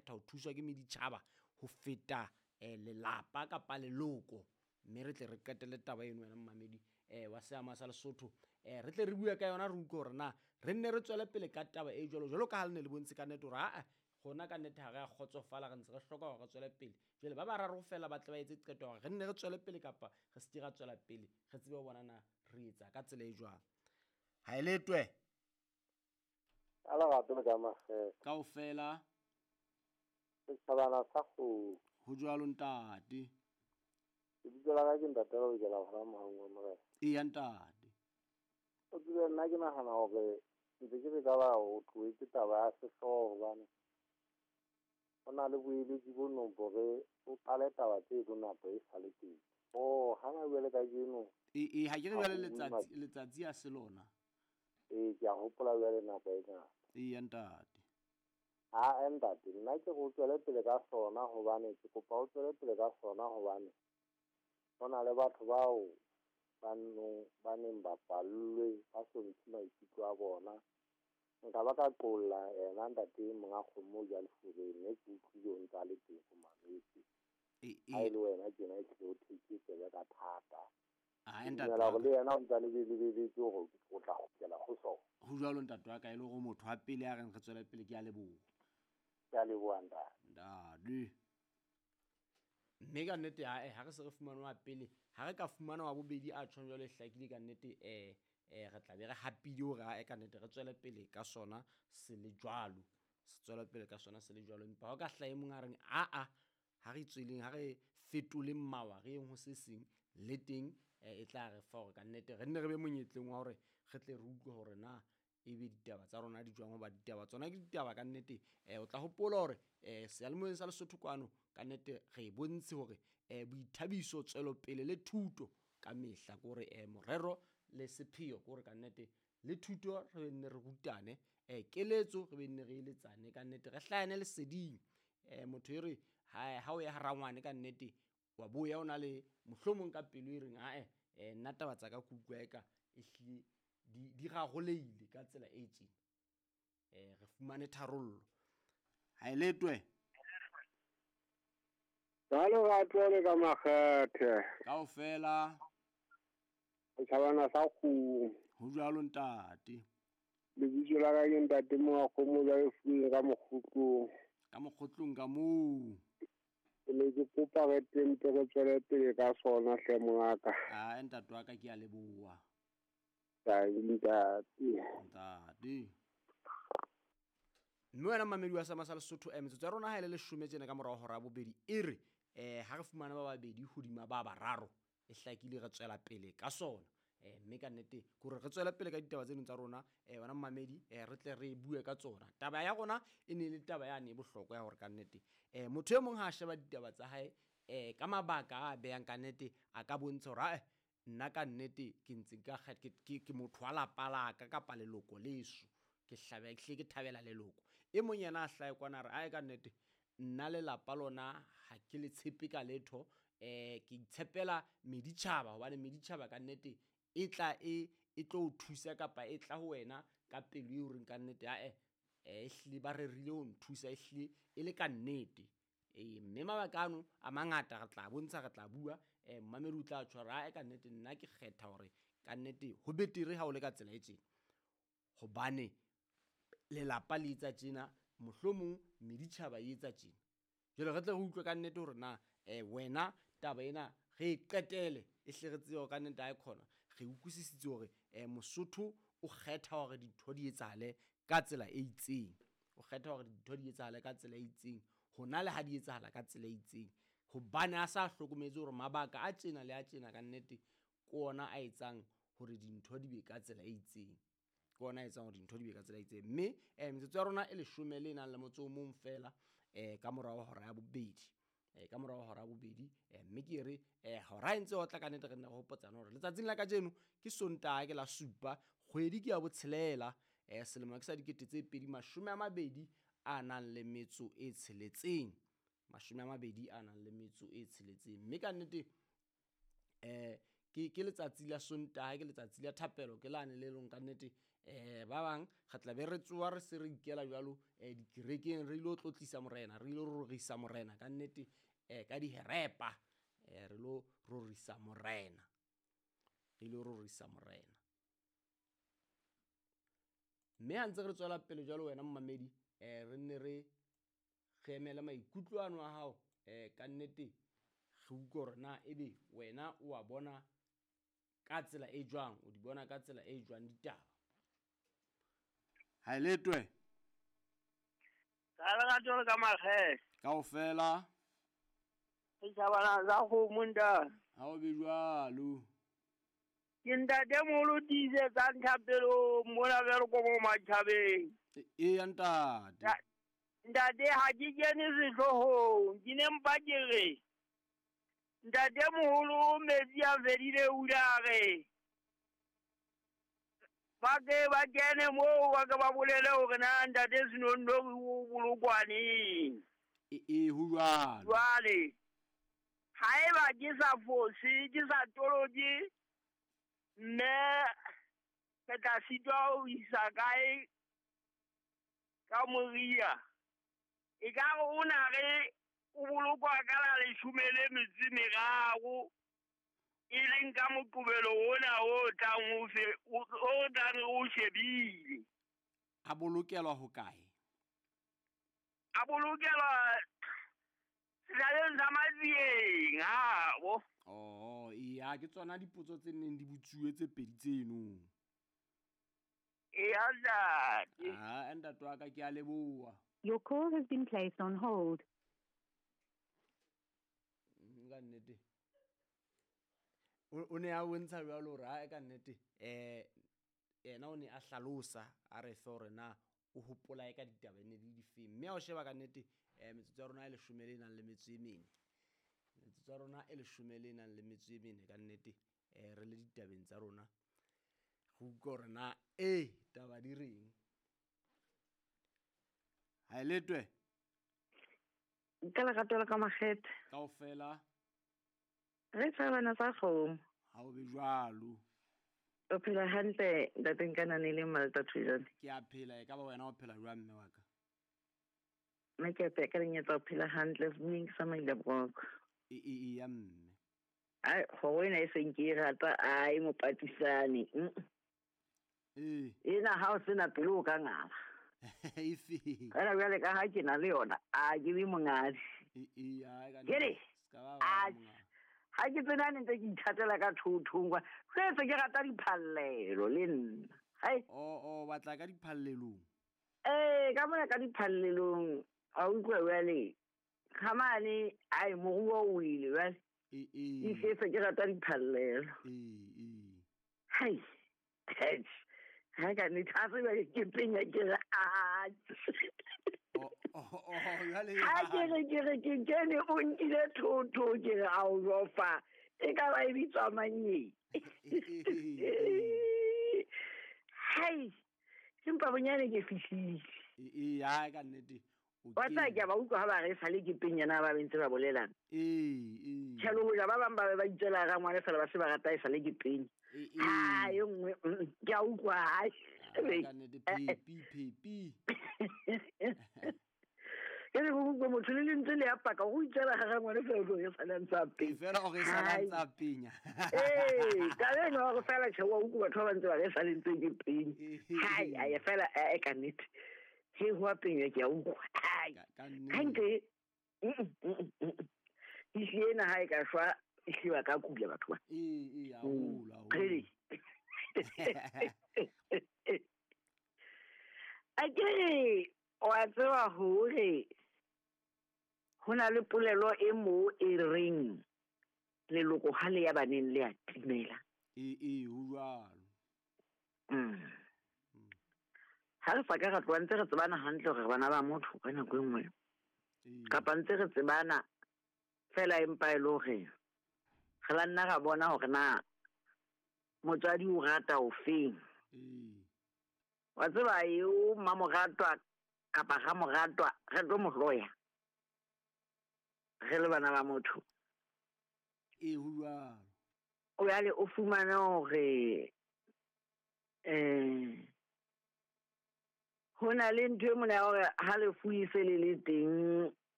kgetha ho thuswa ke meditjhaba ho feta lelapa kapa leloko. Mme re tle re qetelle taba eno wena mmamedi wa seama sa Lesotho. Re tle re bue ka yona, re utlwe hore na re nne re tswele pele ka taba e jwalo jwalo ka ha le ne le bontshe ka nnete hore aa rona ka nnete ha re a kgotsofala, re ntse re hloka hore re tswele pele. Jwale ba bararo feela ba tle ba etse qeto hore re nne re tswele pele kapa re se ke ra tswela pele, re tsebe ho bona na re etsa ka tsela e jwang. Ha e letwe. Ka lerato le ka makgethe. Kaofela. Setjhabana sa kgomo. Ho jwalo ntate. Lebitso la ka ke ntate Lebokela hona Mohaung wa Morena. Eya ntate. O tsebe nna ke nahana hore ntse ke re ka ba o tlohetse taba ya sehlooho hobane ho na le boeletsi bo nong bore o qale taba tseno nako e sa le teng. Oh, hana jwale kajeno. E ha ke re jwale letsatsi a se lona. Ee, ke a hopola jwale nako e ngata. Eya ntate. Ha ntate, nna ke re o tswele pele ka sona hobane ke kopa o tswele pele ka sona hobane ho na le batho bao ba neng ba pallwe ba so ntshe maikutlo a bona. Nka ba ka qolla yena ntate monga kgomo ja lefureng, mme ke utlwile o ntse a le teng ho mametse. Ha e le wena tjena e tlile o thetse tsebe ka thata. Ah, ntate. Dumela hore le yena o ntse a lebeletse hore o tla kgutlela ho sona. Ho jwalo ntate wa ka, e le hore motho wa pele a reng re tswele pele, ke a leboha. Ke a leboha ntate. Ntate. Mme ka nnete ha re se re fumane wa pele, ha re ka fumana wa bobedi a tjhong jwalo e hlakile ka nnete, re tla be re hapile hore ka nnete re tswele pele ka sona se le jwalo. Se tswele pele ka sona se le jwalo. Empa ha o ka hlaha e mong a reng aa ha re tsweleng, ha re fetoleng mawa, re yeng ho se seng le teng, e tla re fa hore ka nnete re nne re be monyetleng wa hore re tle re utlwe hore na ebe ditaba tsa rona di jwang, hoba ditaba tsona ke ditaba ka nnete. O tla hopola hore seyalemoyeng sa Lesotho kwano ka nnete re e bontshe hore boithabiso, tswelopele le thuto ka mehla ke hore morero le sepheo ke hore ka nnete le thuto re nne re rutane, keletso re be nne re eletsane ka nnete, re hlahane leseding. Motho e re ha o ya ha rangwane ka nnete wa boya o na le mohlomong ka pelo e reng ae nna taba tsa ka ke utlwa eka ehlile di raroleile ka tsela e tjena. Re fumane tharollo. Ha e letwe. Ka lerato le ka makgethe. Kaofela. Setjhabana sa kgomo. Ho jwalo ntate. Lebitso la ka ke ntate monga kgomo ja lefung ka mokgotlong. Ka mokgotlong ka moo. Ke ne ke kopa re teng re tswele pele ka sona hle mongaka. Ah, ntate wa ka ke a leboha. Ntate. Ntate. Mme wena mmamedi wa Sama sa Lesotho, metsotso ya rona ha e le leshome tjena ka morao hora ya bobedi, e re ha re fumana ba babedi hodima ba bararo, e hlakile re tswela pele ka sona. Mme ka nnete ke hore re tswele pele ka ditaba tseno tsa rona, wena mmamedi, re tle re bue ka tsona. Taba ya rona e ne le taba yane e bohlokwa ya hore ka nnete motho e mong ha a sheba ditaba tsa hae ka mabaka a behang ka nnete, a ka bontsha hore ae nna ka nnete ke ntse ka ke motho wa lapa la ka kapa leloko leso, ke hlabe ke hle ke thabela leloko. E mong yena a hlahe kwana a re ae ka nnete nna lelapa lona ha ke le tshepe ka letho, ke itshepela meditjhaba hobane meditjhaba ka nnete e tla e tlo o thusa kapa e tla ho wena ka pelo eo reng ka nnete ae ehlile ba rerile ho nthusa, ehlile e le ka nnete. Mme mabaka ano a mangata re tla bontsha, re tla bua, mmamedi o tla tjho hore ae ka nnete nna ke kgetha hore ka nnete ho betere ha o le ka tsela e tjena, hobane lelapa le etsa tjena, mohlomong meditjhaba e etsa tjena. Jwale re tle re utlwe ka nnete hore na wena taba ena re e qetele, e hle re tsebe hore ka nnete ha e khona re utlwisisitse hore Mosotho o kgetha hore dintho di etsahale ka tsela e itseng, o kgetha hore dintho di etsahale ka tsela e itseng hona le ha di etsahala ka tsela e itseng, hobane a sa hlokometse hore mabaka a tjena le a tjena ka nnete ke ona a etsang hore dintho di be ka tsela e itseng, ke ona a etsang hore dintho di be ka tsela e itseng. Mme metsotso ya rona e leshome le nang le motso o mong feela ka morao hora ya bobedi, ka morao hora ya bobedi, mme ke re hora e ntse otla ka nnete re nne re hopotsane hore letsatsing la kajeno ke Sontaha, ke la supa, kgwedi ke ya botshelela, selemo ke sa 2026 a nang le metso e tsheletseng, 22 a nang le metso e tsheletseng. Mme ka nnete ke letsatsi la Sontaha, ke letsatsi la thapelo, ke lane le leng ka nnete Ba bang re tla be re tsoa re se re ikela jwalo dikerekeng, re ilo tlotlisa morena, re ilo rorisa morena ka nnete, ka diherepa, re lo rorisa morena, re ilo rorisa morena. Mme ha ntse re tswela pele jwalo wena momamedi, re nne re emele maikutlo ano a hao, ka nnete re utlwe hore na ebe wena o wa bona ka tsela e jwang, o di bona ka tsela e jwang ditaba. Ha e letwe. Ka lerato le ka makgethe. Kaofela. Setjhabana sa kgomo ntate. Ha o be jwalo. Ke ntate moholo tiisetsang thapelong mona jwalo ko mo matjhabeng. Eya ntate. Ntate ha ke kene sehloohong, ke ne mpa ke re ntate moholo metsi a fedile o ile a re ba ke ba kene moo ba ke ba bolele hore na ntate Senonono o bolokwa neng. E ho jwalo. Jwale haeba ke sa fose, ke sa toloke, mme ke tla sitwa ho isa kae ka moria. E ka re o na re o bolokwa ka la 13 e leng ka Moqebelo ona o tlang o tlang o shebile. A bolokelwa hokae? A bolokelwa sehlaleng sa Matsieng, habo. Oh, eya, ke tsona dipotso tse neng di botsuwe tse pedi tseno. Eya ntate. Ah, ntate wa ka ke a leboha. Your call has been placed on hold. Ka nnete. O ne a bontsha jwalo hore ha ka nnete yena o ne a hlalosa a re fe hore na o hopola e ka ditaba ne di difeng. Mme ha o sheba ka nnete metsotso ya rona e 14. Metsotso ya rona e 14 ka nnete, re le ditabeng tsa rona. Re utlwe hore na taba di reng. Ha e letwe. Ka lerato le ka makgethe. Kaofela. Re tshabana sa kgomo. Ha o be jwalo. O phela hantle ntate Nkanane le Malta Thujane. Ke a phela, e ka ba wena o phela jwang mme wa ka? Nna ke a phela ka lenyatsa o phela hantle, mme ke sa maile broko. E ya mme. Ai, kgoro ena e seng ke e rata, ai mopatisane. Ena ha o sena pelo o ka ngala. Efe. Fela jwale ka ha ke na le yona, a ke be mongadi. Ke ha ke tsena ntse ke ithatela ka thothong kwa. Setse ke rata diphallelo le nna. Hai. O batla ka diphallelong. Ka mona ka diphallelong a utlwa jwale. Khamane ai moruo o ile jwale. E setse ke rata diphallelo. Hai. Ha ka ne thatse ba ke penya ke re a. Jwale. Ha ke re ke re ke kene o nkile thotho ke re a o jofa. E ka ba e bitswa mang e? Hai. Empa bonyane ke fihlile. Ha ka nnete. Wa tseba ke a ba utlwa ha ba re sale ke penya na ba bentse ba bolelana. Tjhe, le hoja ba bang ba be ba itswela ra ngwana fela ba se ba rata e sale ke penya. Ha e nngwe ke a utlwa hai. Ka nnete pi. Ke re go motho le lentswe le a paka go itswela ga ngwana fela o e sale ntse a penya. Fela o re sale ntse a penya. Ka le no go fela tjhe wa utlwa batho ba ntse ba re sale ntse ke penya. Hai a ya fela e ka nnete. He ho a penya ke a utlwa. Hai. Hantle. Ena ha e ka shwa e hliwa ka kula batho ba. Haholo. A ke re wa tseba hore ho na le polelo e mo e reng leloko ha le ya baneng le a timela. Ho jwalo. Ha re sa ka re tloha ntse re tsebana hantle hore bana ba motho ka nako e nngwe. Kapa ntse re tsebana fela empa e le hore re la nna ra bona hore na motswadi o rata o feng. Wa tseba eo mmamoratwa kapa ramoratwa re tlo mo hloya. Re le bana ba motho. Ho jwalo. O yale o fumane hore Ho na le ntho e mona ya hore ha lefu e se le le teng.